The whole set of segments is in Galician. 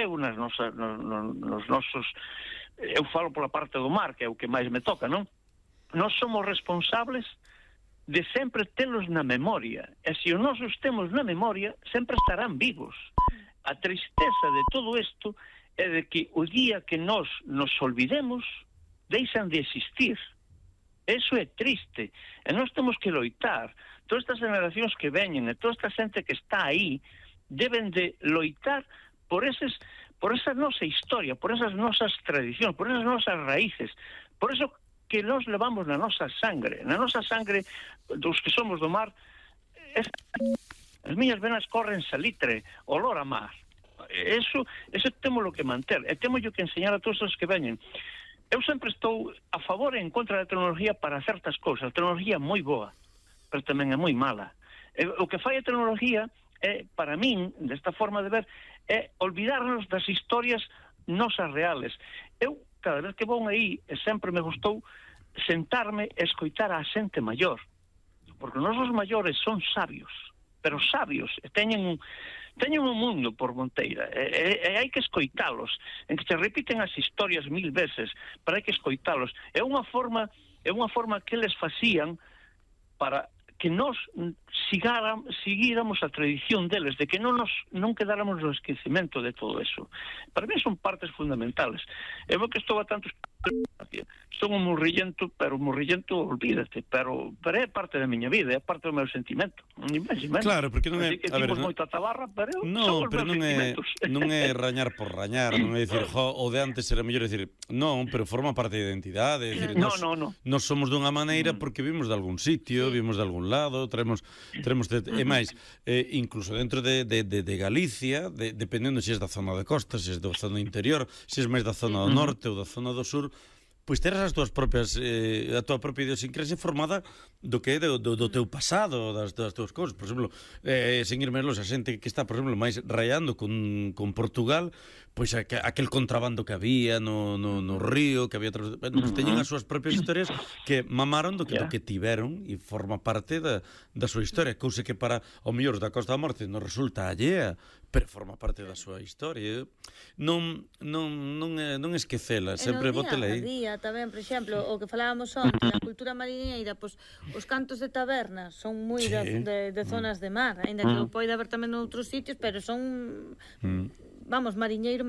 eu nos nosos, eu falo pola parte do mar, que é o que máis me toca, non? Nós somos responsables de sempre telos na memoria, e se os nosos temos na memoria sempre estarán vivos. A tristeza de todo isto é de que o día que nós nos olvidemos deixan de existir. Eso é triste, e nós temos que loitar. Todas estas generacións que veñen e toda esta xente que está aí deben de loitar por esa nosa historia, por esas nosas tradicións, por esas nosas raíces, por eso que nós levamos na nosa sangre dos que somos do mar. As miñas venas corren salitre, olor a mar. Eso temos que manter, e temos que enseñar a todos os que veñen. Eu sempre estou a favor e en contra da tecnología para certas cousas. A tecnología é moi boa, pero tamén é moi mala. O que fai a tecnología é, para min, desta forma de ver, é olvidarnos das historias nosas reales. Eu, cada vez que vou aí, sempre me gustou sentarme e escoitar a xente maior, porque os nosos maiores son sabios, pero sabios, e teñen un mundo por monteira, e hai que escoitalos, en que se repiten as historias 1000 veces, pero hai que escoitalos. É unha forma que eles facían para que nós seguíramos a tradición deles, de que non quedáramos no esquecimento de todo eso. Para mí son partes fundamentales. Eu que estou a tantos... Son un murrillento, pero olvídate, pero é parte da miña vida, é parte do meu sentimento. Claro, porque non é... Así que dimos moito a tabarra, pero son os meus sentimentos. Non é rañar por rañar, non é dicir, o de antes era mellor, dicir, non, pero forma parte da identidade, dicir, nós somos dunha maneira porque vimos de algún sitio, vimos de algún lado, e máis, incluso dentro de Galicia, dependendo se é da zona de costa, se é da zona interior, se é máis da zona do norte ou da zona do sur, pois teres as túas propias a túa propia idiosincrasia formada do que é do teu pasado, das túas cousas. Por exemplo, sen ir máis longe, a xente que está, por exemplo, máis rayando con Portugal, pois aquel contrabando que había no río, que había pois teñen as súas propias historias que mamaron do que tiveron e forma parte da súa historia, cousa que para o mellor da Costa da Morte non resulta allea, pero forma parte da súa historia. Non esquecela, sempre bótela aí. Tamén, por exemplo, o que falábamos onte da cultura mariñeira, pois os cantos de taberna son moi de zonas de mar, aínda que o poida haber tamén noutros sitios, pero son vamos, mariñeiro,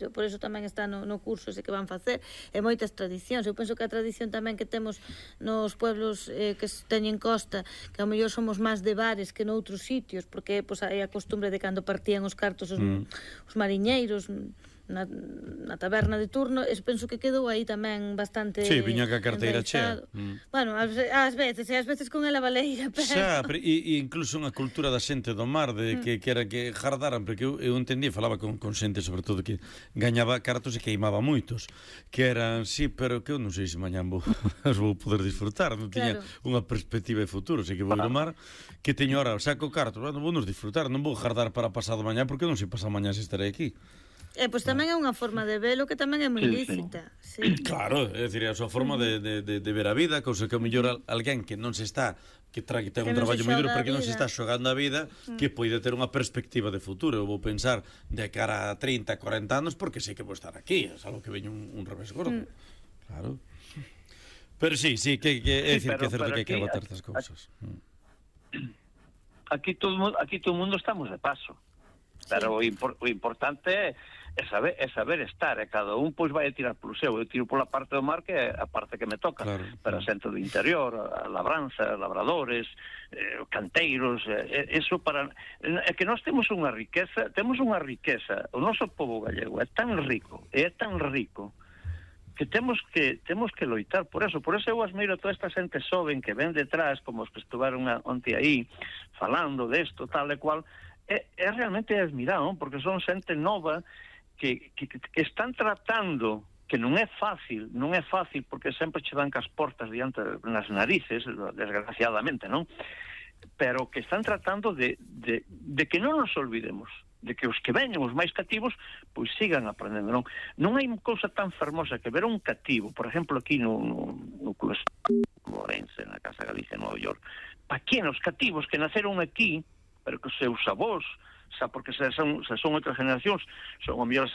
por eso tamén está no curso ese que van facer, e moitas tradicións. Eu penso que a tradición tamén que temos nos pueblos que teñen costa, que ao mellor somos máis de bares que noutros sitios, porque pois hai a costumbre de cando partían os cartos os mariñeiros na taberna de turno, penso que quedou aí tamén bastante... Sí, viña ca carteira chea. Bueno, ás veces con ela baleira, pero... Xa, e incluso unha cultura da xente do mar, de que era que jardaran, porque eu entendí, falaba con xente, sobre todo, que gañaba cartos e queimaba moitos, que eran, sí, pero que eu non sei se mañán as vou poder disfrutar, non tiña unha perspectiva de futuro, sei que vou ir ao mar, que teño ahora, saco cartos, non vou nos disfrutar, non vou jardar para pasado mañán, porque non sei pasado mañán se estarei aquí. Pois tamén é unha forma de velo que tamén é moi lícita. Claro, é dicir, é a súa forma de ver a vida, cousa que ao mellor alguén que non se está, que ten un traballo moi duro, pero que non se está xogando a vida, que pode ter unha perspectiva de futuro. Eu vou pensar de cara a 30, 40 anos, porque sei que vou estar aquí, é algo que veño un revés gordo. Claro. Pero sí, que é dicir, que é certo que hai que aguantar estas cousas. Aquí todo o mundo estamos de paso, pero o importante é saber estar, e cada un pois vai a tirar polo seu. Eu tiro pola parte do mar, que é a parte que me toca, pero a xente do interior, a labranza, labradores, canteiros, eso para... É que nós temos unha riqueza, o noso pobo gallego é tan rico, que temos que loitar por eso eu admiro a toda esta xente xoven que ven detrás, como os que estuveron onte aí, falando desto, tal e cual, é realmente admirado, porque son xente nova que están tratando, que non é fácil, porque sempre che dan cas portas diante nas narices, desgraciadamente, non? Pero que están tratando de que non nos olvidemos, de que os que veñen, os máis cativos, pois sigan aprendendo, non? Non hai cousa tan fermosa que ver un cativo, por exemplo, aquí no Club Morense, na Casa Galicia, en Nova York, aquí nos cativos que naceron aquí, pero que os seus avós, xa porque se son outras generacións, son o mellor